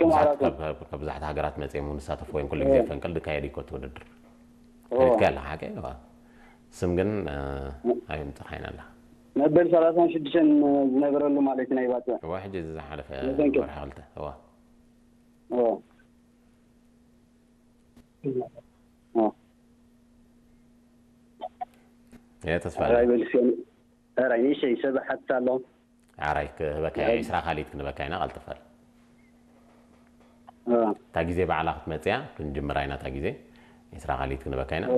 ብዙሓት ዓራቱ ካብ ካብ- ካብ ብዙሓት ሃገራት መፅኦም እውን ዝሳተፉ ወይም ኩሉ ግዜ ፈንቅል ዝካየድ እዩ ኮት ውድድር ኦ። ከይድካ ኣላ ሓቂ እዋ። ስም ግን ኣይምፅርሓይን ኣላ። መበል ሰላሳን ሽዱሽተን ዝነበረሉ ማለት እዩ ናይ ባፅዕ እዋ ሕጂ እዚ ዝሓለፈ መሰንቅል። ወርሒ ክልተ እዋ ኦ። ኦ። እየ ተስፋ ራይ በልስዮን ራይ ንእሽተይ ሰብ ሓትት ኣሎ። ዓራይ ክህበካ እየ ዒስራ ካሊት ክንበካ ኢና ቀልጥፈል። ኦ። እታ ግዜ ባዕላ ክትመፅያ ክንጅምራ ኢና እታ ግዜ ዒስራ ካሊት ክንበካ ኢና። ኦ።